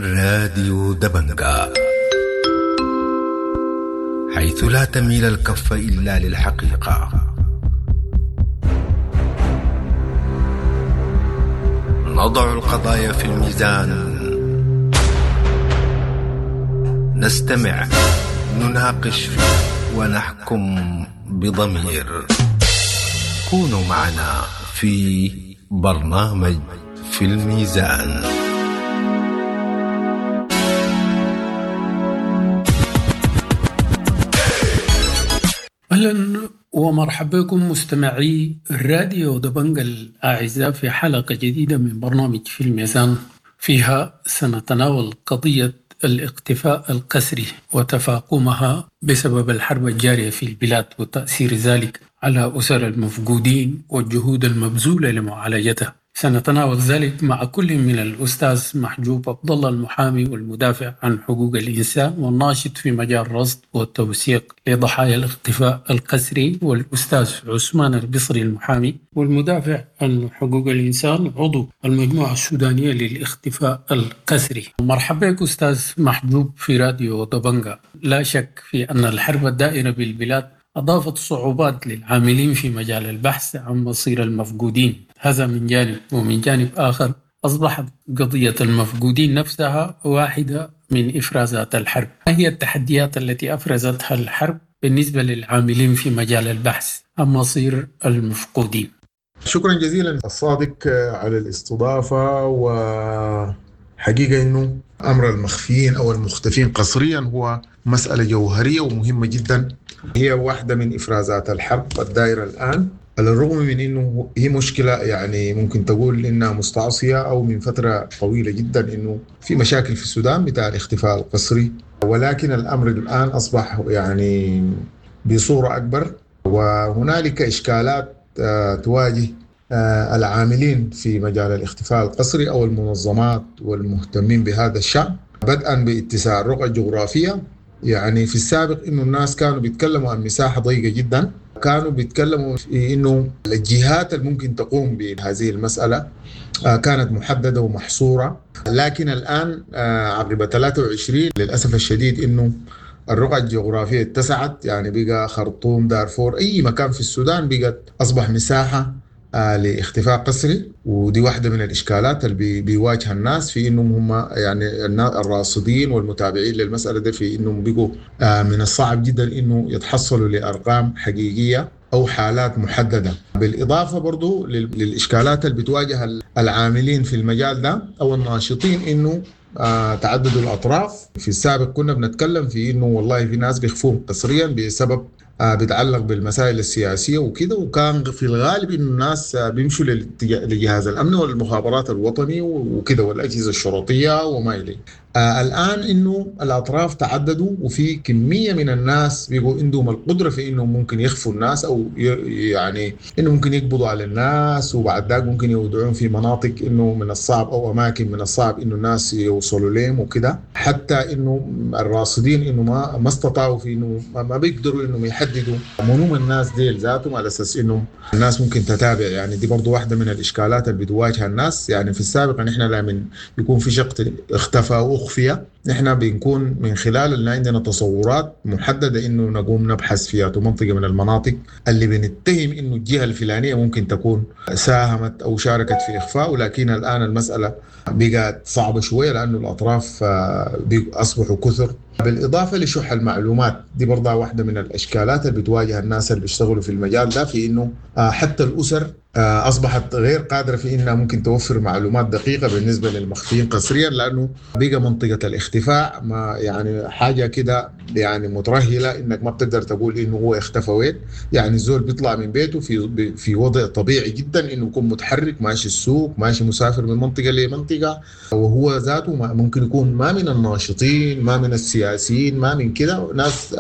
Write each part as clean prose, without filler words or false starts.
راديو دبنقا، حيث لا تميل الكف إلا للحقيقة. نضع القضايا في الميزان، نستمع، نناقش، ونحكم بضمير. كونوا معنا في برنامج في الميزان. أهلا ومرحبا بكم مستمعي راديو دبنقا الأعزاء في حلقة جديدة من برنامج في الميزان، فيها سنتناول قضية الاختفاء القسري وتفاقمها بسبب الحرب الجارية في البلاد وتأثير ذلك على أسر المفقودين والجهود المبذولة لمعالجتها. سنتناول ذلك مع كل من الأستاذ محجوب عبد الله المحامي والمدافع عن حقوق الإنسان والناشط في مجال الرصد والتوثيق لضحايا الاختفاء القسري، والأستاذ عثمان البصري المحامي والمدافع عن حقوق الإنسان عضو المجموعة السودانية للاختفاء القسري. مرحبا بك أستاذ محجوب في راديو دبنقا. لا شك في أن الحرب الدائرة بالبلاد أضافت صعوبات للعاملين في مجال البحث عن مصير المفقودين، هذا من جانب، ومن جانب آخر أصبحت قضية المفقودين نفسها واحدة من إفرازات الحرب. ما هي التحديات التي أفرزتها الحرب بالنسبة للعاملين في مجال البحث عن مصير المفقودين؟ شكرا جزيلا الصادق على الاستضافة. وحقيقة أنه أمر المخفيين أو المختفين قسريا هو مسألة جوهرية ومهمة جدا، هي واحدة من إفرازات الحرب الدائرة الآن، على الرغم من أنه هي مشكلة يعني ممكن تقول إنها مستعصية أو من فترة طويلة جدا أنه في مشاكل في السودان بتاع الاختفاء القسري، ولكن الأمر الآن أصبح يعني بصورة أكبر، وهنالك إشكالات تواجه العاملين في مجال الاختفاء القسري أو المنظمات والمهتمين بهذا الشأن، بدءا باتساع الرقعة الجغرافية. يعني في السابق إنه الناس كانوا بيتكلموا عن مساحة ضيقة جدا، كانوا بيتكلموا في إنه الجهات اللي ممكن تقوم بهذه المسألة كانت محددة ومحصورة، لكن الآن عقب 23 للأسف الشديد إنه الرقعة الجغرافية اتسعت، يعني بقى خرطوم، دارفور، أي مكان في السودان بقت أصبح مساحة لاختفاء قسري. ودي واحدة من الإشكالات اللي بيواجه الناس في إنهم هم يعني الراصدين والمتابعين للمسألة دي، في إنهم بيقوا من الصعب جدا إنه يتحصلوا لأرقام حقيقية أو حالات محددة. بالإضافة برضو للإشكالات اللي بتواجه العاملين في المجال ده أو الناشطين، إنه تعدد الأطراف. في السابق كنا بنتكلم في إنه والله في ناس بيخفوهم قسريا بسبب بيتعلق بالمسائل السياسية وكده، وكان في الغالب إنه الناس بيمشوا لجهاز الأمن والمخابرات الوطني وكده والأجهزة الشرطية وما إليه. الآن إنه الأطراف تعددوا، وفي كمية من الناس بيقوا عندهم القدرة في إنه ممكن يخفوا الناس، أو يعني إنه ممكن يقبضوا على الناس، وبعد ذاك ممكن يودعون في مناطق إنه من الصعب أو أماكن من الصعب إنه الناس يوصلوا لهم وكده. حتى إنه الراصدين إنه ما استطاعوا في إنه ما بيقدروا إنهم يحددوا منهم الناس ديل ذاتهم على أساس إنه الناس ممكن تتابع. يعني دي برضو واحدة من الإشكالات اللي بتواجه الناس. يعني في السابق نحن لا من يكون في شخص اختفى وأخفي، نحن بنكون من خلال اللي عندنا تصورات محددة إنه نقوم نبحث فيها منطقة من المناطق اللي بنتهم إنه الجهة الفلانية ممكن تكون ساهمت أو شاركت في إخفاء، ولكن الآن المسألة بقت صعبة شوية لأنه الأطراف أصبحوا كثر. بالإضافة لشح المعلومات، دي برضه واحدة من الإشكالات اللي بتواجه الناس اللي بيشتغلوا في المجال ده، في إنه حتى الأسر أصبحت غير قادرة في إنها ممكن توفر معلومات دقيقة بالنسبة للمخفيين قسريا، لأنه بقى منطقة الاختفاء ما يعني حاجة كده يعني مترهلة، إنك ما بتقدر تقول إنه هو اختفى وين. يعني الزول بيطلع من بيته في وضع طبيعي جدا إنه يكون متحرك، ماشي السوق، ماشي مسافر من منطقة لمنطقة، وهو ذاته ممكن يكون ما من الناشطين، ما من السياسيين، ما من كده ناس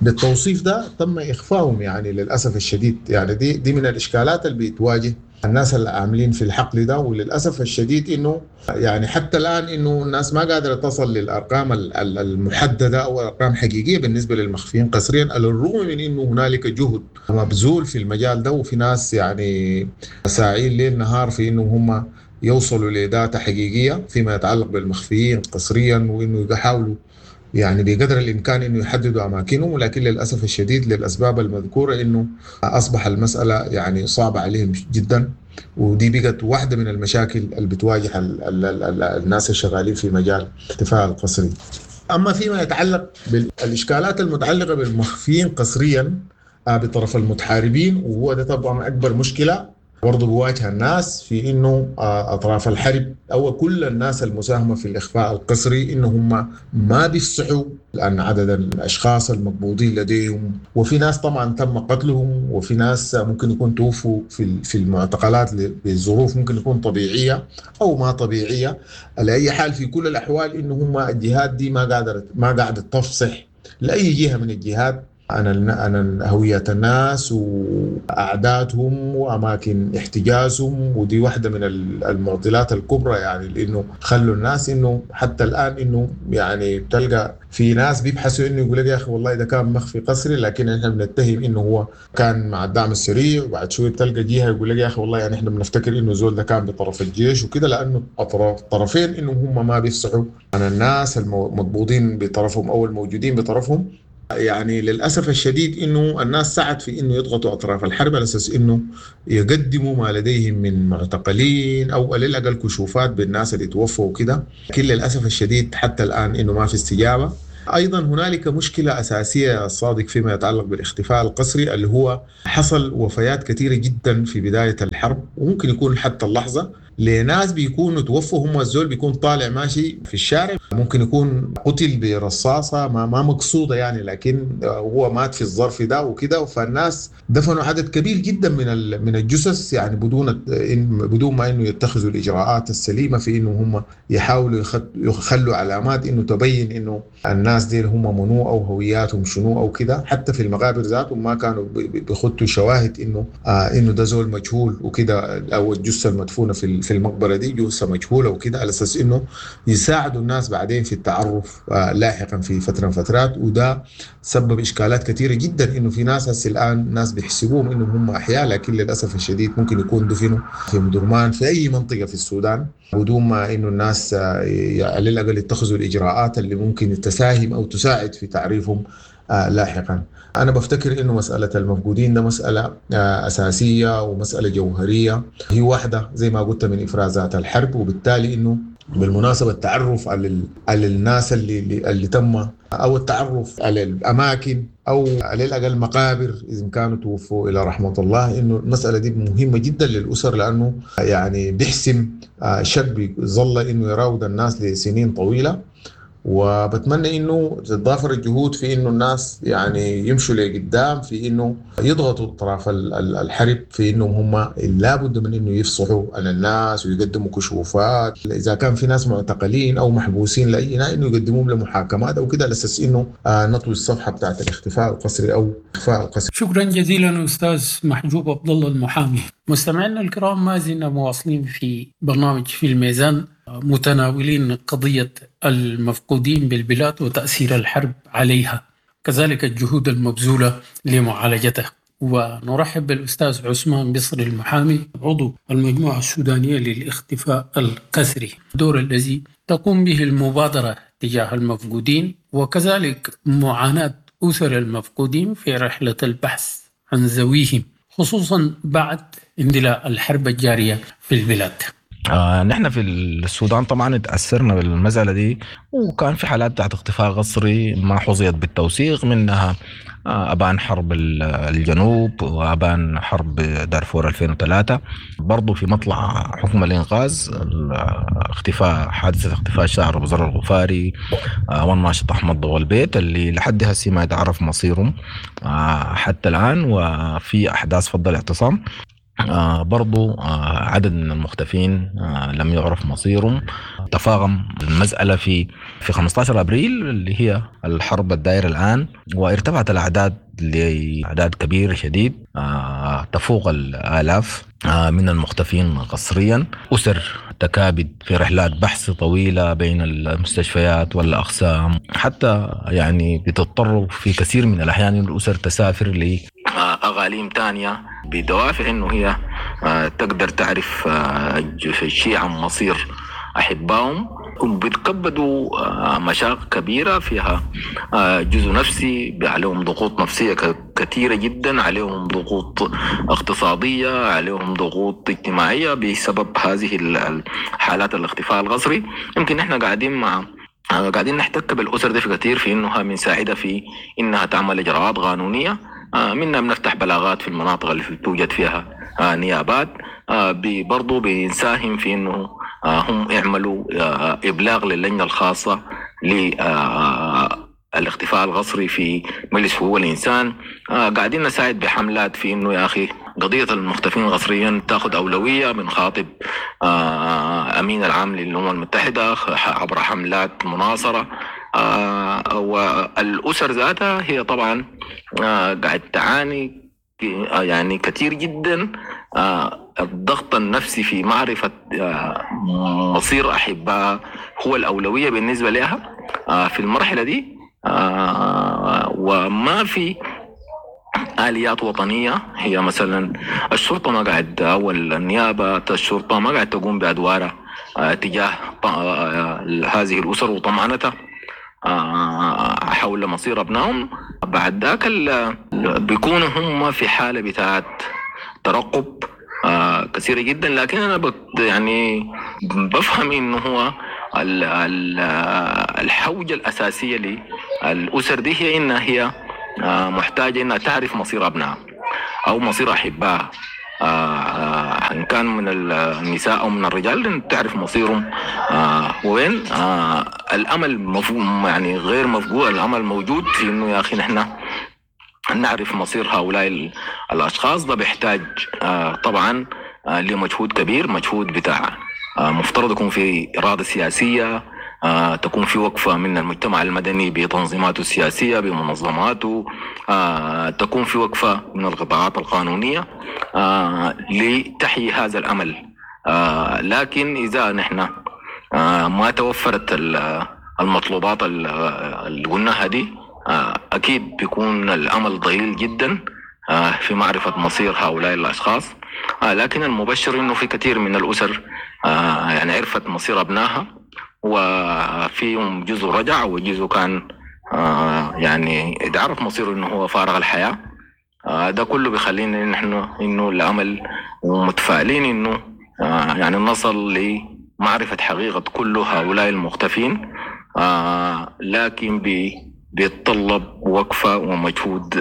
بالتوصيف ده تم إخفائهم يعني للأسف الشديد. يعني دي من الإشكالات اللي بتواجه الناس اللي عاملين في الحقل ده، وللأسف الشديد إنه يعني حتى الآن إنه الناس ما قادرة تصل للأرقام المحددة أو أرقام حقيقية بالنسبة للمخفيين قسريا، على الرغم من إنه هنالك جهد مبذول في المجال ده، وفي ناس يعني ساعين ليل نهار في إنه هم يوصلوا ل data حقيقية فيما يتعلق بالمخفيين قسريا، وإنه يحاولوا يعني بقدر الإمكان إنه يحددوا أماكنهم، ولكن للأسف الشديد للأسباب المذكورة إنه أصبح المسألة يعني صعبة عليهم جدا، ودي بقت واحدة من المشاكل اللي بتواجه الناس الشغالين في مجال الاختفاء القسري. أما فيما يتعلق بالإشكالات المتعلقة بالمخفيين قسريا بطرف المتحاربين، وهو ده طبعا أكبر مشكلة برضو بواجه الناس في إنه أطراف الحرب أو كل الناس المساهمة في الإخفاء القسري إنه هم ما بيفصحوا لأن عدد الأشخاص المقبوضين لديهم، وفي ناس طبعا تم قتلهم، وفي ناس ممكن يكون توفوا في المعتقلات بظروف ممكن يكون طبيعية أو ما طبيعية. على أي حال في كل الأحوال إنه هم الجهات دي ما قاعدة تفصح لأي جهة من الجهات عن هوية الناس وأعدادهم وأماكن احتجازهم، ودي واحدة من المعضلات الكبرى يعني، لأنه خلوا الناس إنه حتى الآن إنه يعني بتلقى في ناس بيبحثوا إنه يقول لك يا أخي والله ده كان مخفي قسري، لكن إحنا بنتهم إنه هو كان مع الدعم السريع، وبعد شوي بتلقى جهة يقول لك يا أخي والله يعني إحنا بنفتكر إنه زول ده كان بطرف الجيش وكده، لأنه أطراف طرفين إنه هم ما بيفصحوا عن الناس المقبوضين بطرفهم أو الموجودين بطرفهم. يعني للأسف الشديد إنه الناس سعت في إنه يضغطوا أطراف الحرب على أساس إنه يقدموا ما لديهم من معتقلين أو على الأقل كشوفات بالناس اللي توفوا وكده، لكن للأسف الشديد حتى الآن إنه ما في استجابة. أيضا هنالك مشكلة أساسية الصادق فيما يتعلق بالاختفاء القسري، اللي هو حصل وفيات كثيرة جدا في بداية الحرب، وممكن يكون حتى اللحظة لناس بيكونوا توفوا، هم الزول بيكون طالع ماشي في الشارع ممكن يكون قتل برصاصة ما مقصودة يعني، لكن هو مات في الظرف ده وكده، فالناس دفنوا عدد كبير جدا من الجثث يعني بدون ما انه يتخذوا الاجراءات السليمة في انه هم يحاولوا يخلوا علامات انه تبين انه الناس دي هم منو او هوياتهم شنو او كده. حتى في المقابر ذاتهم ما كانوا بيخطوا شواهد انه ده زول مجهول وكده، او الجثة المدفونة في المقبرة دي جثة مجهولة وكده، على أساس إنه يساعدوا الناس بعدين في التعرف لاحقا في فترة من فترات. وده سبب إشكالات كثيرة جدا، إنه في ناس هسه الآن ناس بيحسبوهم إنهم هم أحياء، لكن للأسف الشديد ممكن يكون دفنوا في مدرمان في أي منطقة في السودان بدون ما إنه الناس على الأقل يتخذوا الإجراءات اللي ممكن تساهم أو تساعد في تعريفهم لاحقا. أنا بفتكر إنه مسألة المفقودين ده مسألة أساسية ومسألة جوهرية، هي واحدة زي ما قلت من إفرازات الحرب، وبالتالي إنه بالمناسبة التعرف على الناس اللي تم، أو التعرف على الأماكن، أو على الأقل مقابر إذا كانوا توفوا إلى رحمة الله، إنه المسألة دي مهمة جدا للأسر، لأنه يعني بيحسم شك ظل إنه يراود الناس لسنين طويلة. وبتمنى انه تتضافر الجهود في انه الناس يعني يمشوا لقدام في انه يضغطوا اطراف الحرب في انهم هم لابد من انه يفصحوا عن الناس ويقدموا كشوفات اذا كان في ناس معتقلين او محبوسين لاي انه يقدموهم لمحاكمات او كده، على اساس انه نطوي الصفحه بتاعت الاختفاء القسري او الاخفاء القسري. شكرا جزيلا استاذ محجوب عبد الله المحامي. مستمعينا الكرام، ما زلنا مواصلين في برنامج في الميزان، متناولين قضية المفقودين بالبلاد وتأثير الحرب عليها، كذلك الجهود المبذولة لمعالجتها. ونرحب بالأستاذ عثمان بصري المحامي، عضو المجموعة السودانية للاختفاء القسري، الدور الذي تقوم به المبادرة تجاه المفقودين، وكذلك معاناة أسر المفقودين في رحلة البحث عن ذويهم، خصوصا بعد اندلاع الحرب الجارية في البلاد. نحن في السودان طبعا تأثرنا بالمسألة دي، وكان في حالات بتاعت اختفاء قسري ما حظيت بالتوثيق، منها أبان حرب الجنوب وأبان حرب دارفور 2003، برضو في مطلع حكم الإنقاذ اختفاء حادثة اختفاء الشاعر أبو ذر الغفاري والناشط أحمد ضوء البيت اللي لحد هسه ما يتعرف مصيرهم حتى الآن، وفي أحداث فض الاعتصام برضو عدد من المختفين لم يعرف مصيرهم. تفاقم المسألة في 15 أبريل اللي هي الحرب الدائرة الآن، وارتفعت الأعداد لأعداد كبيرة شديد تفوق الآلاف من المختفين قسريا. أسر تكابد في رحلات بحث طويلة بين المستشفيات والأقسام، حتى يعني بتضطر في كثير من الأحيان الأسر تسافر اقاليم تانية بدوافع انه هي تقدر تعرف شيء عن مصير احبائهم. بيتكبدوا مشاق كبيرة فيها جزء نفسي، عليهم ضغوط نفسية كثيرة جدا، عليهم ضغوط اقتصادية، عليهم ضغوط اجتماعية بسبب هذه حالات الاختفاء القسري. يمكن احنا قاعدين نحتك بالأسر دي في كثير في انها بنساعدها في انها تعمل اجراءات قانونية، منها بنفتح بلاغات في المناطق اللي توجد فيها نيابات، برضو بنساهم في انه هم يعملوا إبلاغ للجنة الخاصة للاختفاء القسري في مجلس حقوق الإنسان. قاعدين نساعد بحملات في إنه يا أخي قضية المختفين قسريا تأخذ أولوية. بنخاطب أمين العام للأمم المتحدة عبر حملات مناصرة. والأسر ذاتها هي طبعا قاعد تعاني يعني كثير جدا الضغط النفسي في معرفة مصير أحبائها هو الأولوية بالنسبة لها في المرحلة دي. وما في آليات وطنية، هي مثلا الشرطة ما قاعد أو النيابة الشرطة ما قاعد تقوم بأدوارها تجاه هذه الأسر وطمأنتها حول مصير أبنائهم. بعد ذاك بيكونوا هم في حالة بتاعت ترقب كثيرة جدا. لكن أنا يعني بفهم إنه هو الحوجة الأساسية للأسر دي هي إنها هي محتاجة إنها تعرف مصير أبنائها أو مصير أحبائها، إن كان من النساء أو من الرجال، تعرف مصيرهم وين. الأمل مفهوم يعني غير مفقود، الأمل موجود في إنه يا أخي نحن نعرف مصير هؤلاء الأشخاص. ده بيحتاج طبعا لمجهود كبير، مجهود بتاع مفترض يكون في إرادة سياسية، تكون في وقفة من المجتمع المدني بتنظيماته السياسية بمنظماته، تكون في وقفة من القطاعات القانونية لتحيي هذا الأمل. لكن إذا نحن ما توفرت المطلوبات اللي قلناها دي، أكيد بيكون الأمل ضئيل جدا في معرفة مصير هؤلاء الأشخاص. لكن المبشر إنه في كثير من الأسر يعني عرفت مصير أبنائها، وفيهم جزء رجع وجزء كان يعني اتعرف مصيره إنه هو فارغ الحياة. ده كله بيخلينا نحن إنه الأمل ومتفائلين إنه يعني نصل لمعرفة حقيقة كل هؤلاء المختفين، لكن بيتطلب وقفة ومجهود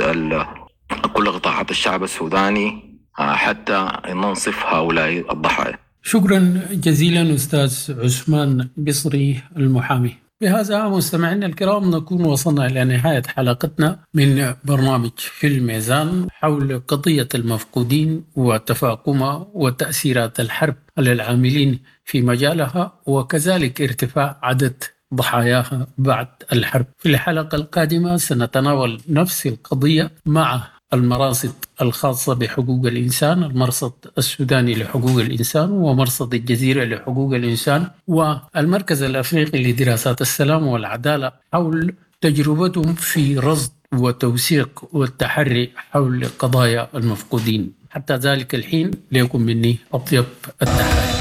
كل قطاعات الشعب السوداني حتى ننصف هؤلاء الضحايا. شكرا جزيلا أستاذ عثمان بصري المحامي. بهذا مستمعينا الكرام نكون وصلنا إلى نهاية حلقتنا من برنامج في الميزان حول قضية المفقودين وتفاقمها وتأثيرات الحرب على العاملين في مجالها، وكذلك ارتفاع عدد ضحاياها بعد الحرب. في الحلقة القادمة سنتناول نفس القضية مع المراصد الخاصة بحقوق الإنسان، المرصد السوداني لحقوق الإنسان ومرصد الجزيرة لحقوق الإنسان والمركز الأفريقي لدراسات السلام والعدالة، حول تجربتهم في رصد وتوثيق والتحري حول قضايا المفقودين. حتى ذلك الحين ليكن مني أطيب التحايا.